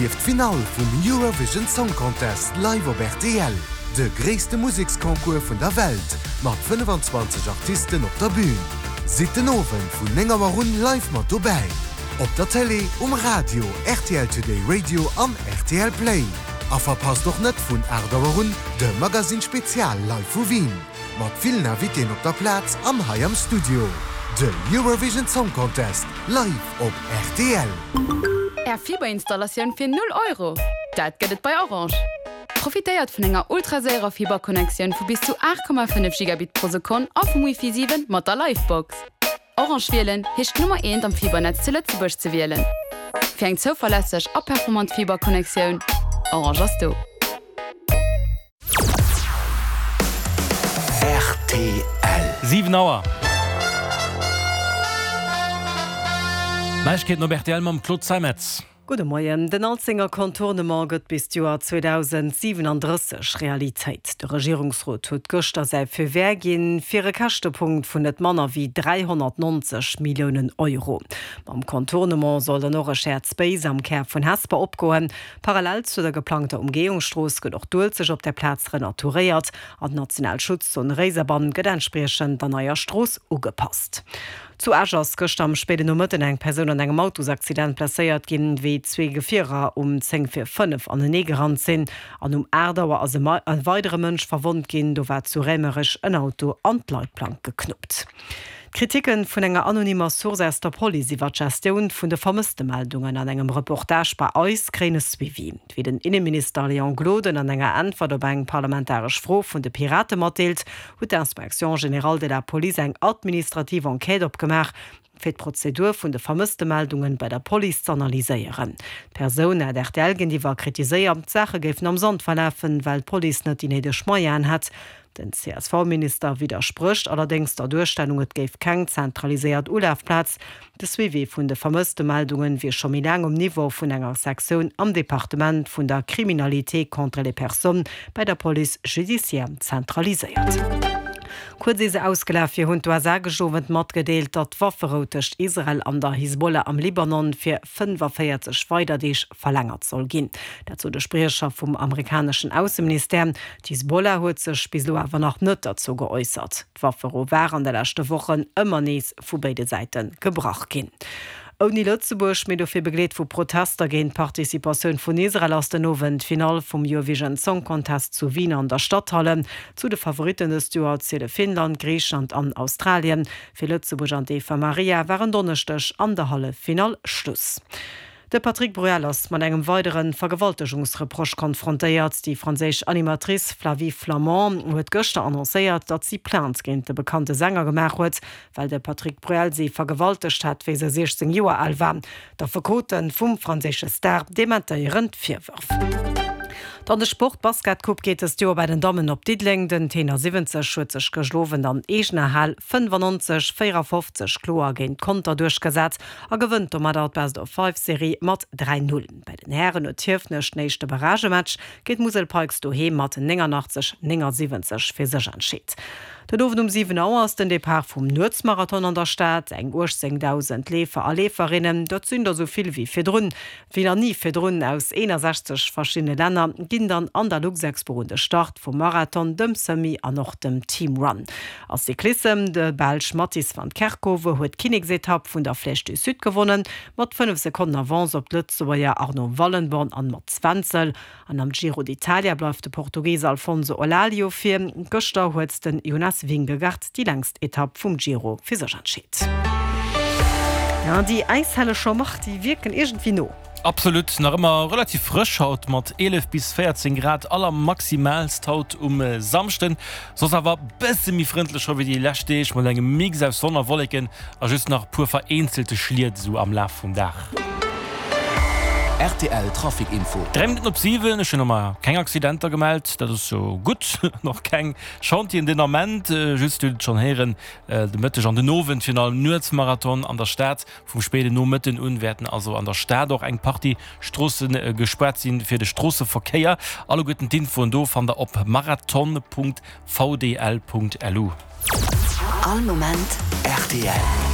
Erlieft d'Finall vum Eurovision Song Contest live op rtl, de gréisste Museksconcours vun der Welt mat 25 Artisten op der Bün. Sidd den Owend vun 9 Auer un live mat dobäi, op der Télé, um Radio, rtl Today Radio an rtl Play. A verpasst och net vun 8 Auer un de Magazine Spezial live vu Wien. Mat villen Invitéen op der Plaz an hei am Studio. De Eurovision Song Contest live op rtl. Är Fiberinstallatioun fir 0 Euro? Dat gëtt et bei Orange! Profitéiert vun enger ultraséierer Fiberconnectioun vu bis zu 8,5 Gigabit pro Sekonn a vum Wifi 7 mat der Livebox. Orange wielen heescht d'Nummer eent am Fibernetz zu Lëtzebuerg ze wielen. Fir eng zouverlässeg a performant Fiberconnectioun, Orange ass do! Rtl. 7 Auer. Neiegkeeten op rtl mam Claude Zeimetz. Gudde Moien. Den Alzenger Contournement gëtt bis d'Joer 2037 Realitéit. De Regierungsrot huet gëschter säi Feu vert ginn fir e Käschtepunkt vun net manner wéi 390 Milliounen Euro. Mam Contournement soll dann och e Shared Space am Kär vun Hesper opgoen. Parallel zu der geplangter Umgehungsstrooss gëtt och d'Uelzecht op der Plaz renaturéiert an d'national Schutzzon Réiserbann gëtt entspriechend der neier Strooss ugepasst. Zu Esch ass gëschter am spéiden Nomëtten eng Persoun an engem Autosaccident blesséiert ginn, wéi zwee Gefierer um 10 vir 5 anenee gerannt sinn. An um 8 Auer ass e weidere Mënsch verwonnt ginn, do war zu Raemerech en Auto an d'Leitplank geknuppt. D'Kriticken vun enger anonymer Source aus der Police iwwer d'Gestioun vun de Vermësstemeldungen an engem Reportage bei eis kréien e Suivi. Wéi den Inneminister Léon Gloden an enger Äntwert op eng parlamentaresch Fro vun de Pirate matdeelt, huet d'Inspection générale de la police eng administrativ Enquête opgemaach, fir d'Prozedur vun de Vermësstemeldungen bei der Police z'analyséieren. D'Persoun hat rtl géintiwwer kritiséiert, d'Saache géifen am Sand verlafen, well d'Police net déi néideg Moyenen hätt. Den CSV-Minister widdersprécht allerdéngs der Duerstellung, et géif keng zentraliséiert Ulafplaz. De Suivi vun de Vermësstemeldungen wier scho méi laang um Niveau vun enger Sektioun am Departement vun der Criminalité contre les personnes bei der Police judiciaire zentraliséiert. Kuerz ier se ausgelaf wier, hunn d'USA gëscht Owend matgedeelt, datt d'Wafferou tëscht Israel an der Hisbollah am Libanon fir 45 weider Deeg verlängert soll ginn. Dat sot e Spriecher vum amerikaneschen Ausseministère. D'Hisbollah huet sech bis elo awer nach net derzou geäussert. D'Wafferou war an de leschte Wochen ëmmer nees vu béide Säite gebrach ginn. Ouni Lëtzebuerg, mee dofir begleet vu Protester géint d'Participatioun vun Israel, ass den Owend d'Finall vum Eurovision Song Contest zu Wien an der Stadthalle. Zu de Favoritten dëst Joer ziele Finnland, Griicheland an Australien. Fir Lëtzebuerg an d'Eva Marija war en Donneschdeg an der Halleffinall Schluss. De Patrick Bruel ass mat engem weidere Vergewaltegungsreproche konfrontéiert. Déi franséisch Animatrice Flavie Flament huet gëschter annoncéiert, datt si Plainte géint de bekannte Sänger gemaach huet, well de Patrick Bruel si vergewaltegt hätt, wéi se 16 Joer al war. D'Affekote vum franséische Star dementéieren d'Virwërf. Dann de Sport, D'Basketcoupe geet dëst Joer bei den Dammen op Diddeleng. Den Tenor 70 huet sech gëscht Owend an eegener Hal 95, 54 kloer géint Conter duerchgesat. A gewënnt domadder d'Best of Five Serie mat 3, 0. Bei den Hären huet Hiefenech den éischte Barragematch géint d'Musel Pikes doheem mat 89, 79 fir sech entscheet. Den Owend um 7 Auer ass den Depart vum Nuetsmarathon an der Stad. Eng 18.000 Leefer a Leeferinnen, dat sinn der sou vill wéi virdrun, wéi nach ni virdrun, aus 61 verschiddene Länner ginn dann an der Luxexpo un de Start vum Marathon, dem Semi an och dem Team Run. A Cyclissem, De Belsch Mattis van Kerkhove huet d'Kinneksetapp vun der Flèche du Sud gewonnen, mat 5 Sekonnen Avance op d'Lëtzebuerger Arno Wallenborn an Mats Wenzel. An am Giro d'Italia bleift de Portugis Alfonso Eulalio vir. Gëschter huet den Jonas Vingegaard déi längst Etapp vum Giro fir sech entscheet. Déi Äishelleger Marc, déi wierken iergendwéi no. Absolut, nach ëmmer relativ frësch haut mat 11 bis 14 Grad allermaximaalst haut um Samschden. Soss awer bësse méi frëndlech scho wéi déi lescht Deeg mat engem Mix aus Sonn a Wolleken a just nach puer vereenzelte Schliet esou am Laf vum Dag. Rtl Trafic Info. 3 Minutten op 7, ech hunn nach mar keng Accidenter gemellt, dat ass jo gutt. Och keng Chantieren den Ament, just, dir hutt et schonn héieren, de Mëtteg an den Owend virun allem Nuetsmarathon an der Stad. Vum spéiden Nomëtten un wäerten also an der Stad och eng Partie Stroosse gespaart sinn fir de Stroosseverkéier. Alleguerten d'Infoen do fannt der op marathon.vdl.lu. All Moment rtl.